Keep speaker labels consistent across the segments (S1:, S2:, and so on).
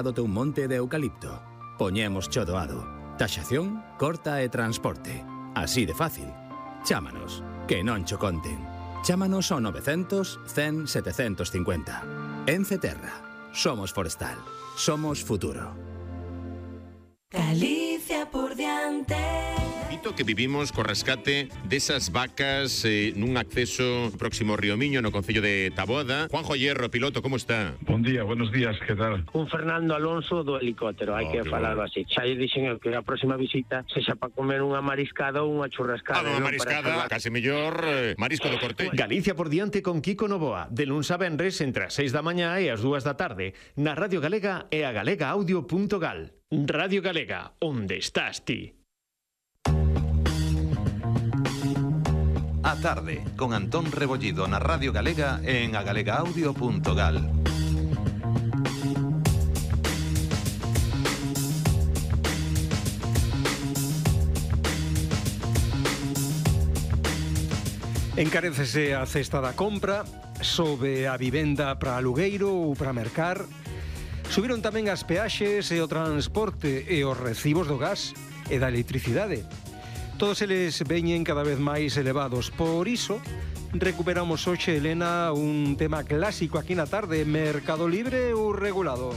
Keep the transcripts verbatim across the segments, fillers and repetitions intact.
S1: do teu monte de eucalipto. Poñemos cho doado. Taxación, corta e transporte. Así de fácil. Chámanos, que non cho conten. Chámanos ao novecentos, cen, setecentos cincuenta. Ence Terra. Somos forestal. Somos futuro.
S2: Galicia por diante.
S3: Dito que vivimos co rescate desas vacas eh, nun acceso próximo ao Río Miño no concello de Taboada. Juanjo Hierro, piloto, como está?
S4: Bon día, buenos días, que tal?
S5: Un Fernando Alonso do helicóptero, hai
S3: Oh,
S5: que
S3: que
S5: falarlo
S3: bueno.
S5: así. Xa lle dixen eu que a próxima visita sexa para comer unha mariscada ou unha churrascada.
S3: Ah, non,
S5: non
S3: mariscada,
S5: para
S3: case mellor eh, marisco do Corte.
S6: Galicia por diante con Kiko Novoa, de luns a venres entre as seis da mañá e as dúas da tarde, na Radio Galega e a galega audio punto gal. Radio Galega, onde estás ti?
S7: A tarde, con Antón Rebollido na Radio Galega e en agalegaaudio punto gal.
S8: Encarécese a cesta da compra, sobe a vivenda para alugueiro ou para mercar. Subiron tamén as peaxes e o transporte e os recibos do gas e da electricidade. Todos eles veñen cada vez máis elevados. Por iso, recuperamos hoxe, Elena, un tema clásico aquí na tarde, mercado libre ou regulado.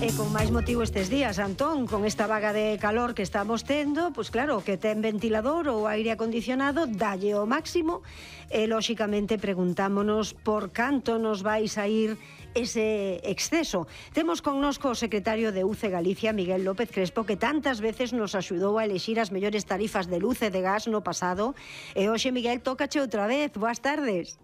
S9: E con máis motivo estes días, Antón, con esta vaga de calor que estamos tendo, pois claro, que ten ventilador ou aire acondicionado, dalle o máximo, e lóxicamente preguntámonos por canto nos vais a ir ese exceso. Temos connosco o secretario de U C E Galicia, Miguel López Crespo, que tantas veces nos axudou a elixir as mellores tarifas de luz e de gas no pasado, e hoxe, Miguel, tócache outra vez. Boas tardes.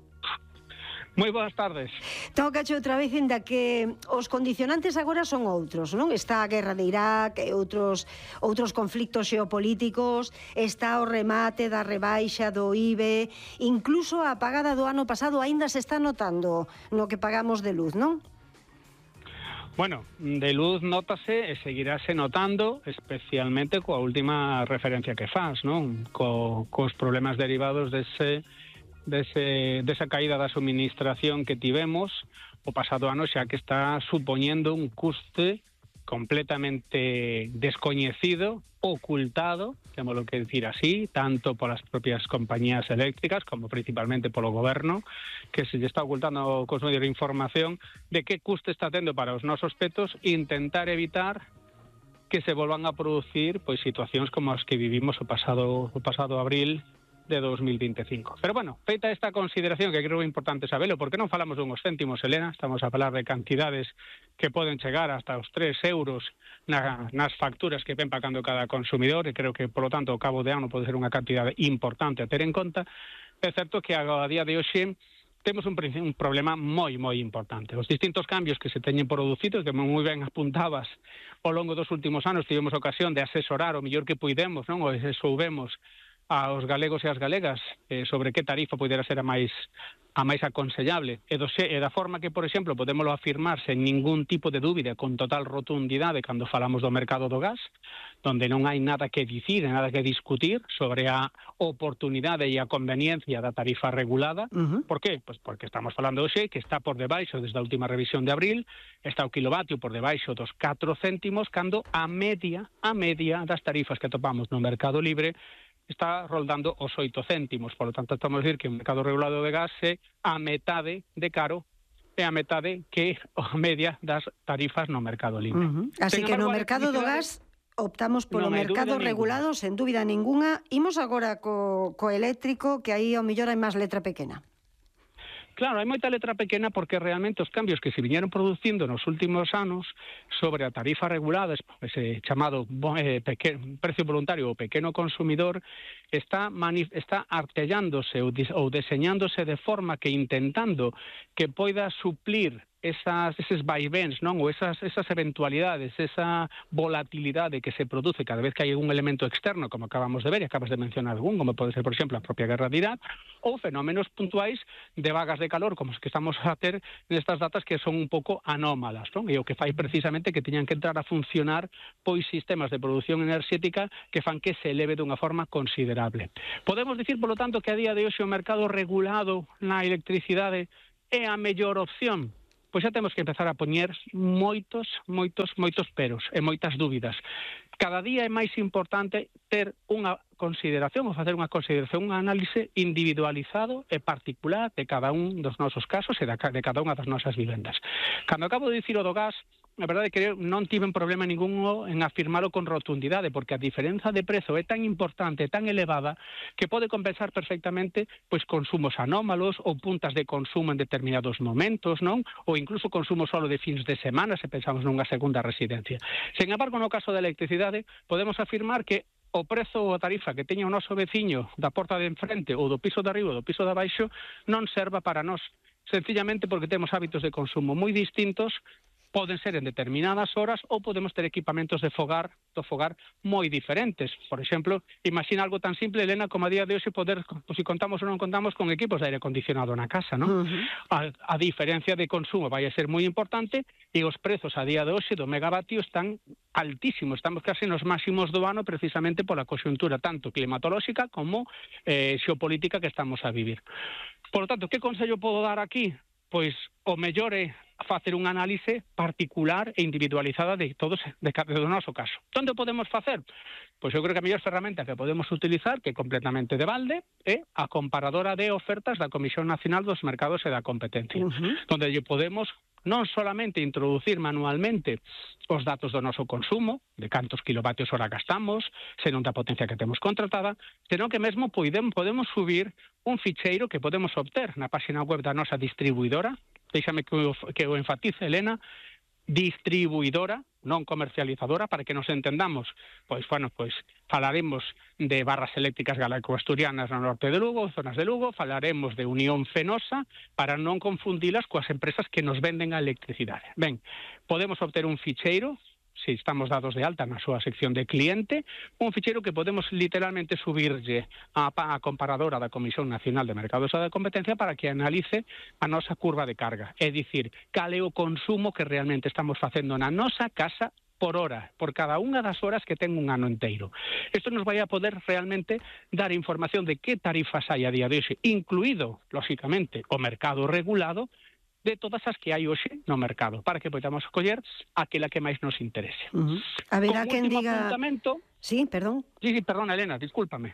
S10: Moi boas tardes.
S9: Tócache outra vez, inda que os condicionantes agora son outros, non? Está a guerra de Irak e outros outros conflictos xeopolíticos, está o remate da rebaixa do I B E, incluso a pagada do ano pasado aínda se está notando no que pagamos de luz, non?
S10: Bueno, de luz nótase e seguirase notando, especialmente coa última referencia que faz, non? Co, cos problemas derivados dese Dese, desa caída da suministración que tivemos o pasado ano, xa que está supoñendo un custe completamente descoñecido, ocultado, témolo que decir así, tanto polas propias compañías eléctricas como principalmente polo goberno, que se lle está ocultando cos medios de información de que custe está tendo para os nosos petos e intentar evitar que se volvan a producir pois situacións como as que vivimos o pasado o pasado abril de dos mil veinticinco. Pero bueno, feita esta consideración, que creo que é importante sabelo, porque non falamos dunhos céntimos, Elena, estamos a falar de cantidades que poden chegar hasta os tres euros na, nas facturas que ven pagando cada consumidor, e creo que, polo tanto, ao cabo de ano pode ser unha cantidade importante a ter en conta. É certo que a, a día de hoxe temos un, un problema moi, moi importante. Os distintos cambios que se teñen producido, que moi ben apuntabas ao longo dos últimos anos, tivemos ocasión de asesorar o mellor que puidemos, non? O se soubemos aos galegos e as galegas eh, sobre que tarifa poidera ser a máis a máis aconsellable e, do, e da forma que, por exemplo, podémoslo afirmar sen ningún tipo de dúbida, con total rotundidade cando falamos do mercado do gas, donde non hai nada que dicir, nada que discutir sobre a oportunidade e a conveniencia da tarifa regulada. Uh-huh. Por qué? Pues porque estamos falando hoxe que está por debaixo, desde a última revisión de abril, está o kilovatio por debaixo dos catro céntimos, cando a media, a media das tarifas que topamos no mercado libre está roldando os oito céntimos. Por lo tanto, estamos a decir que o mercado regulado de gas é a metade de caro e a metade que a media das tarifas no mercado libre.
S9: Uh-huh. Así que no mercado do gas optamos polo no mercado regulado, ninguna. Sen dúbida ninguna. Imos agora co, co eléctrico, que aí ao mellor hai máis letra pequena.
S10: Claro, hai moita letra pequena porque realmente os cambios que se viñeron producindo nos últimos anos sobre a tarifa regulada, ese chamado eh, peque, precio voluntario ou pequeno consumidor, está, está artellándose ou, ou deseñándose de forma que intentando que poida suplir esas, eses vaivens, non? Ou esas, esas eventualidades, esa volatilidade que se produce cada vez que hai un elemento externo, como acabamos de ver, e acabas de mencionar algún, como pode ser, por exemplo, a propia guerra de Irak, ou fenómenos puntuais de vagas de calor, como os que estamos a ter nestas datas, que son un pouco anómalas, non? E o que fai precisamente que teñan que entrar a funcionar pois sistemas de produción enerxética que fan que se eleve dunha forma considerable. Podemos dicir, polo tanto, que a día de hoxe o mercado regulado na electricidade é a mellor opción? pois xa temos que empezar a poñer moitos, moitos, moitos peros e moitas dúbidas. Cada día é máis importante ter unha consideración ou facer unha consideración, un análise individualizado e particular de cada un dos nosos casos e de cada unha das nosas vivendas. Cando acabo de dicir o do gas, a verdade é que non tiven problema ningún en afirmalo con rotundidade, porque a diferenza de prezo é tan importante, tan elevada, que pode compensar perfectamente pois consumos anómalos ou puntas de consumo en determinados momentos, non? Ou incluso consumo solo de fins de semana, se pensamos nunha segunda residencia. Sen embargo, no caso da electricidade, podemos afirmar que o prezo ou a tarifa que teña o noso veciño da porta de enfrente ou do piso de arriba ou do piso de abaixo non serva para nós, sencillamente porque temos hábitos de consumo moi distintos. Poden ser en determinadas horas ou podemos ter equipamentos de fogar, do fogar moi diferentes. Por exemplo, imagina algo tan simple, Elena, como a día de hoxe poder, pues, si contamos ou non contamos con equipos de aire acondicionado na casa, non? Uh-huh. A, a diferencia de consumo vai a ser moi importante e os prezos a día de hoxe do megavatio están altísimos. Estamos casi nos máximos do ano precisamente pola coxuntura tanto climatolóxica como eh, xeopolítica que estamos a vivir. Por lo tanto, que consello podo dar aquí? Pois o mellor é facer un análise particular e individualizada de todos de cada do noso caso. Onde podemos facer? Pois eu creo que a mellor ferramenta que podemos utilizar, que é completamente de balde, é a comparadora de ofertas da Comisión Nacional dos Mercados e da Competencia, uh-huh. onde lle podemos non solamente introducir manualmente os datos do noso consumo, de cantos kilovatios hora gastamos, senón da potencia que temos contratada, senón que mesmo podemos, podemos subir un ficheiro que podemos obter na página web da nosa distribuidora. Déxame que o, que o enfatice, Elena, distribuidora, non comercializadora, para que nos entendamos. Pois, bueno, pois falaremos de barras eléctricas galaico-asturianas no norte de Lugo, zonas de Lugo, falaremos de Unión Fenosa, para non confundilas coas empresas que nos venden a electricidade. Ben, podemos obter un ficheiro, se estamos dados de alta na súa sección de cliente, un ficheiro que podemos literalmente subirlle á, á comparadora da Comisión Nacional de Mercados e da Competencia para que analice a nosa curva de carga. É dicir, cal é o consumo que realmente estamos facendo na nosa casa por hora, por cada unha das horas que ten un ano inteiro. Isto nos vai a poder realmente dar información de que tarifas hai a día de hoxe, incluído, lóxicamente, o mercado regulado, de todas as que hai hoxe no mercado, para que podamos escoller aquela que máis nos interese.
S9: Uh-huh. A verá quen diga...
S10: Apuntamento...
S9: Sí, perdón.
S10: Sí, sí, perdón, Elena, discúlpame.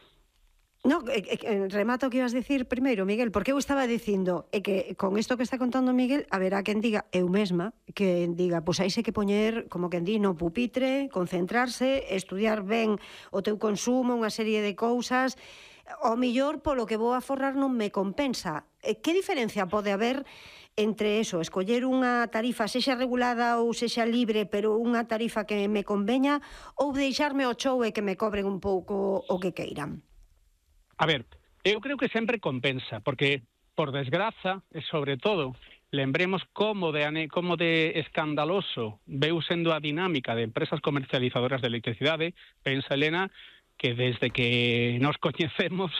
S9: No, eh, eh, remato o que ibas dicir primeiro, Miguel, porque eu estaba dicindo é que con isto que está contando Miguel, a verá quen diga, eu mesma, que diga, pois aí se que poñer, como quen di, no pupitre, concentrarse, estudiar ben o teu consumo, unha serie de cousas, ao millor polo que vou a forrar non me compensa. Que diferencia pode haber entre eso, escoller unha tarifa sexa regulada ou sexa libre, pero unha tarifa que me conveña, ou deixarme o chou e que me cobren un pouco o que queiran?
S10: A ver, eu creo que sempre compensa, porque, por desgraza, e sobre todo, lembremos como de, como de escandaloso veu sendo a dinámica de empresas comercializadoras de electricidade. Pensa, Elena, que desde que nos coñecemos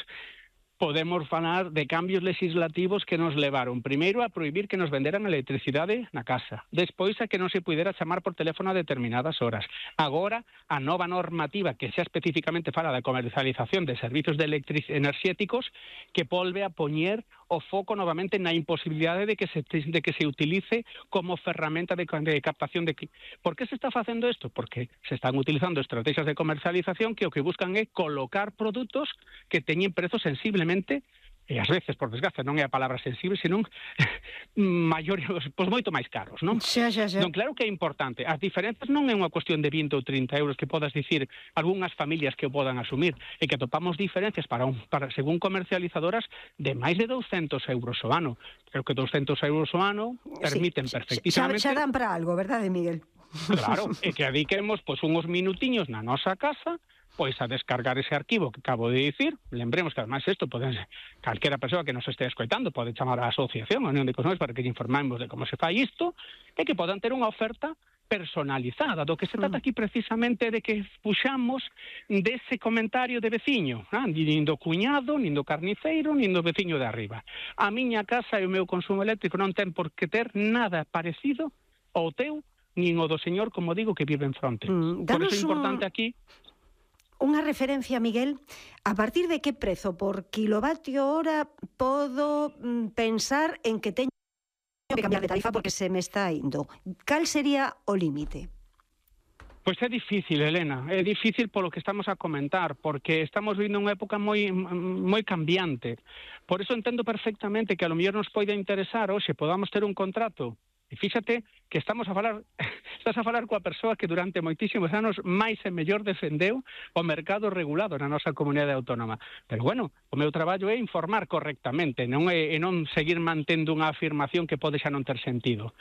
S10: podemos falar de cambios legislativos que nos levaron primeiro a prohibir que nos venderan electricidade na casa, despois a que non se pudera chamar por teléfono a determinadas horas, agora a nova normativa que xa especificamente fala da comercialización de servizos de enerxéticos que volve a poñer o foco novamente na imposibilidade de que se, de que se utilice como ferramenta de, de captación de... Por que se está facendo isto? Porque se están utilizando estrategias de comercialización que o que buscan é colocar produtos que teñen prezos sensiblemente, e ás veces, por desgraza, non é a palabra sensible, senón maiores, pois moito máis caros, non?
S9: Xa, xa, xa.
S10: Non, claro que é importante. As diferenzas non é unha cuestión de vinte ou trinta euros que podas dicir algunhas familias que o podan asumir, e que atopamos diferencias para, un, para según comercializadoras de máis de douscentos euros o ano. Creo que douscentos euros o ano permiten sí, perfectísimamente...
S9: Xa, xa dan para algo, verdade, Miguel?
S10: Claro, e que adiquemos pois, unhos minutiños na nosa casa pois a descargar ese arquivo que acabo de dicir. Lembremos que además isto pode ser calquera persoa que nos este escoitando pode chamar á asociación, a Unión de Consumidores, para que lle informemos de como se fai isto, e que podan ter unha oferta personalizada. Do que se trata aquí precisamente de que puxamos dese comentario de veciño, ah, nin do cuñado, nin do carniceiro, nin do veciño de arriba. A miña casa e o meu consumo eléctrico non ten por que ter nada parecido ao teu, nin o do señor, como digo, que vive en fronte. Mm, por iso é importante un... aquí...
S9: Unha referencia, Miguel, a partir de que prezo por kilovatio hora podo mm, pensar en que teño que cambiar de tarifa porque se me está indo. Cal sería o límite?
S10: Pois é difícil, Elena, é difícil polo que estamos a comentar, porque estamos vivindo unha época moi moi cambiante. Por eso entendo perfectamente que a lo mellor nos poida interesar hoxe podamos ter un contrato. E fíxate que estamos a falar, estás a falar coa persoa que durante moitísimos anos máis e mellor defendeu o mercado regulado na nosa comunidade autónoma. Pero bueno, o meu traballo é informar correctamente, non é, e non seguir mantendo unha afirmación que pode xa non ter sentido.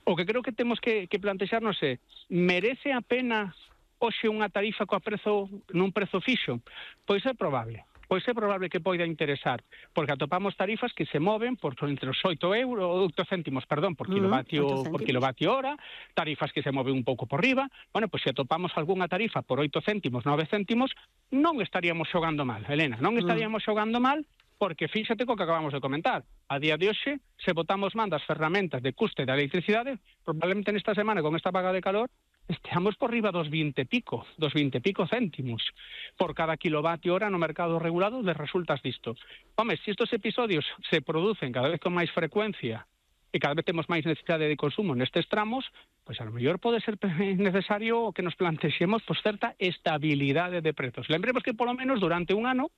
S10: O que creo que temos que, que plantexarnos é, merece a pena hoxe unha tarifa coa prezo, nun prezo fixo? Pois é probable. Pois é probable que poida interesar, porque atopamos tarifas que se moven por entre os oito euros, oito céntimos, perdón, por kilovatio, por kilovatio hora, tarifas que se moven un pouco por riba. Bueno, pois se atopamos algunha tarifa por oito céntimos, nove céntimos, non estaríamos xogando mal, Elena, non estaríamos xogando mal, porque fíxate co que acabamos de comentar. A día de hoxe, se botamos man das ferramentas de custe da electricidade, probablemente nesta semana, con esta vaga de calor, esteamos por riba dos vinte pico, dos vinte pico céntimos por cada kilovatio hora no mercado regulado, les resultas disto. Home, se estos episodios se producen cada vez con máis frecuencia e cada vez temos máis necesidade de consumo nestes tramos, pois a lo mellor pode ser necesario que nos plantexemos pois, certa estabilidade de prezos. Lembremos que polo menos durante un ano,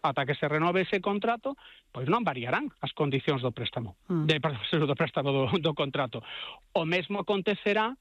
S10: ata que se renove ese contrato, pois non variarán as condicións do préstamo, mm. de, perdón, do préstamo do, do contrato. O mesmo acontecerá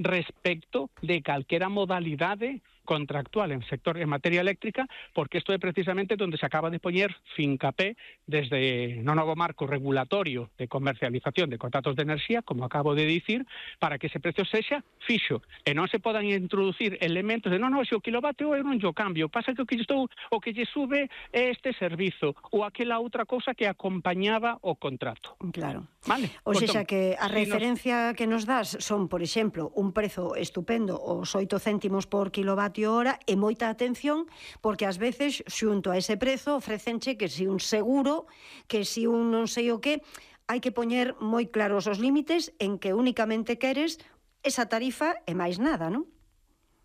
S10: respecto de calquera modalidade contractual en sector en materia eléctrica, porque isto é precisamente onde se acaba de poñer fincapé desde no novo marco regulatorio de comercialización de contratos de enerxía, como acabo de dicir, para que ese precio sexa fixo e non se podan introducir elementos de non, non, se o kilovatio eu non yo cambio, pasa que o que estou o que lle sube é este servizo ou aquela outra cousa que acompañaba o contrato.
S9: Claro.
S10: Vale.
S9: O sea,
S10: entón,
S9: que a
S10: si
S9: referencia nos... que nos das son, por exemplo, un prezo estupendo, os oito céntimos por kilovatio hora, e moita atención, porque ás veces, xunto a ese prezo, ofrecenche que si un seguro, que si un non sei o que, hai que poñer moi claros os límites en que únicamente queres esa tarifa e máis nada, non?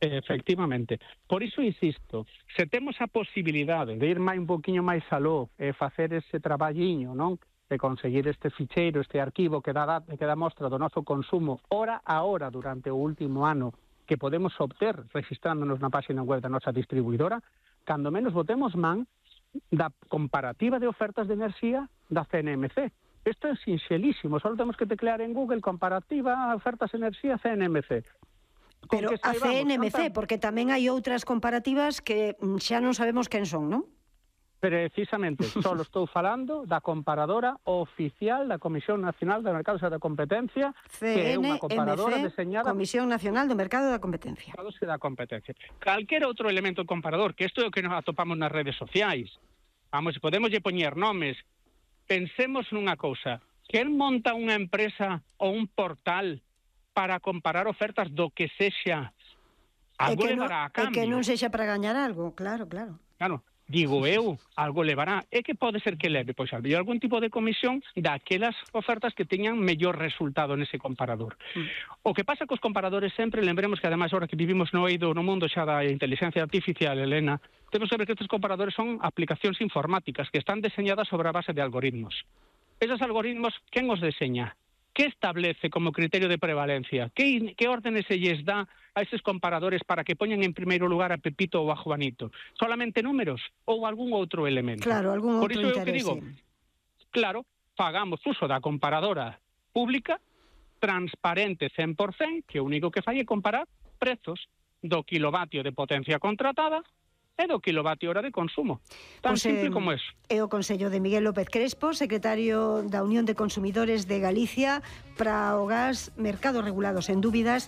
S10: Efectivamente. Por iso insisto, se temos a posibilidade de ir máis un poquinho máis aló e facer ese traballiño, non? De conseguir este ficheiro, este arquivo que dá, que dá mostra do noso consumo hora a hora durante o último ano, que podemos obter registrándonos na página web da nosa distribuidora, cando menos botemos man da comparativa de ofertas de enerxía da C N M C. Isto é sinxelísimo, só temos que teclear en Google comparativa ofertas de enerxía C N M C.
S9: Pero a C N M C, porque tamén hai outras comparativas que xa non sabemos quen son, non?
S10: Precisamente, só estou falando da comparadora oficial da Comisión Nacional do Mercado da Competencia, que é unha comparadora deseñada...
S9: Comisión Nacional do Mercado da Competencia.
S10: da Competencia. Calquer outro elemento comparador, que isto é o que nos atopamos nas redes sociais. Vamos, podemos lle poñer nomes. Pensemos nunha cousa, que el monta unha empresa ou un portal para comparar ofertas do que sexa, algo levará a cambio.
S9: E que non sexa para gañar algo, claro, claro.
S10: Claro. Digo eu, algo levará. É que pode ser que leve, pois, había algún tipo de comisión daquelas ofertas que teñan mellor resultado nese comparador. Mm. O que pasa cos comparadores sempre, lembremos que ademais ahora que vivimos no eido no mundo xa da inteligencia artificial, Elena, temos que ver que estes comparadores son aplicacións informáticas que están deseñadas sobre a base de algoritmos. Esos algoritmos, quen os deseña? Que establece como criterio de prevalencia? Que, que órdenes se lles dá a eses comparadores para que poñan en primeiro lugar a Pepito ou a Juanito? Solamente números ou algún outro elemento?
S9: Claro, algún
S10: Por
S9: outro
S10: iso
S9: interese.
S10: eu que digo, claro, pagamos uso da comparadora pública, transparente cen por cen, que o único que fai é comparar prezos do kilovatio de potencia contratada e do kilovatio hora de consumo. Tan
S9: Pois,
S10: simple
S9: eh,
S10: como eso.
S9: É o Consello de Miguel López Crespo, secretario da Unión de Consumidores de Galicia, para o gas, mercados regulados en dúbidas,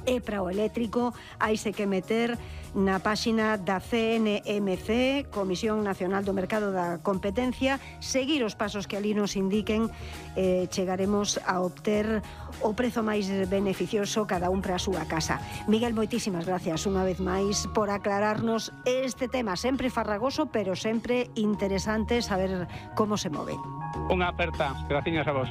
S9: e para o eléctrico haise que meter na páxina da C N M C, Comisión Nacional do Mercado da Competencia, seguir os pasos que ali nos indiquen, eh, chegaremos a obter o prezo máis beneficioso cada un para a súa casa. Miguel, moitísimas gracias unha vez máis por aclararnos este tema, sempre farragoso, pero sempre interesante saber como se move.
S10: Unha aperta, gracias a vos.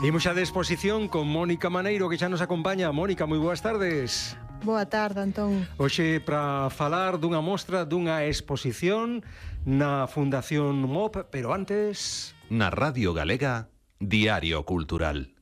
S8: Imos xa de exposición con Mónica Maneiro, que xa nos acompaña. Mónica, moi boas tardes.
S11: Boa tarde, Antón.
S8: Hoxe para falar dunha mostra, dunha exposición na Fundación M O P, pero antes...
S7: Na Radio Galega, Diario Cultural.